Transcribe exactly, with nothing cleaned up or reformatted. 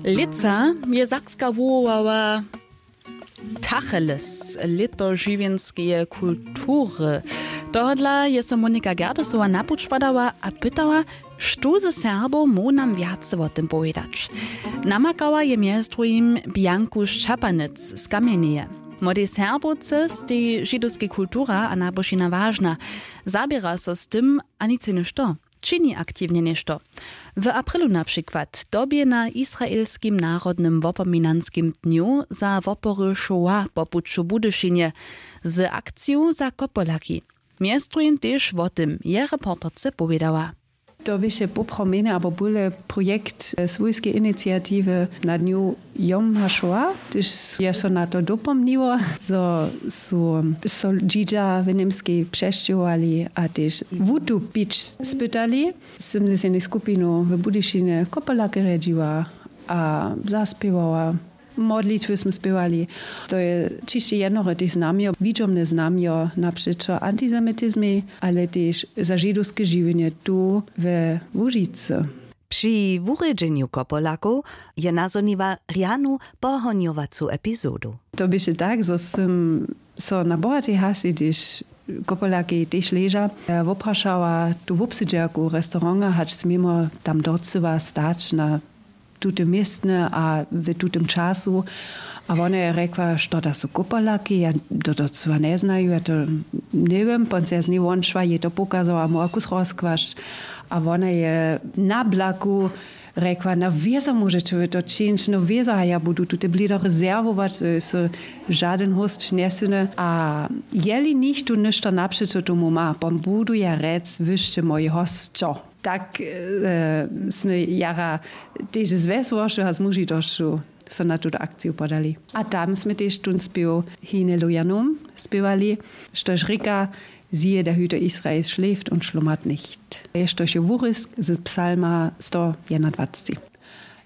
Lětsa je sakska wuwołała tacheles lěto žiwjenskeje kultury. Tohodla je so monika gerdesowa na puć padała a pytała, štó ze serbow móhł nam wjace wo tym powědać. Namakała je mjez druhim bjanku šćapanec z kamjenjeje. Młodej serbowce stej židowskej kultura a nabožina wažna. Zaběra so z tym a nic něšto, čini aktiwnje něšto. W aprilu na přikład dobje na israelskim narodnym wopominanskim dnju za wopory šoła po puću w budyšinje z akciju za kopolaki. Mjez druhim tež wo tym je reporterce powědała. To běše popromjene abo bóle projekt swójskeje iniciatiwy na dnju jom hašoła, hdyž je so na to dopomniło, zo su so dźidźa w němskej přesćěhowali a tež wutupić spytali. Sym z jednej skupinu w budyšinje kopolake rjedźiła a zaspěwała. Modlitwy smy spěwali. To je ćišće jednore tež znamjo widźomne znamjo napřećo antisemitizmej, ale tež za židowske žiwjenje tu we łužicy. Při wurjedźenju kopolakow je nazhoniła rjanu pohonjowacu epizodu. To běše tak, zo sym so na bohatej hasi, hdyž kopolakej tež leža, woprašała tu wobsedźerku restauranta, hač směmo tam docyła stać na tute městne a w tutem času. A wona je rjekła, što da su kopolaki, ja to docyła njeznaju, ja to njewěm. Ponc ja z njej wonšła, jej to pokazała, móhła kus rozkłasć. A wona je na blaku rjekła, na wězo móžeće wy to čińć, no wězo, a ja budu tute blido rezerwować, zo je so žadyn hósć njesyny. A jeli nichtó něšto napřećo tomu ma, pon budu ja rjec, wy sće mój hosćo. Tak smy jara tež z wjesłošću a z mužitosću so na tutu akciju podali. A tam smy tež tón spěw hine lujanum spěwali, štož rěka, siehe, der Hüter Israels schläft und schlummert nicht, štož je wurězk z psalma sto jednadwacci.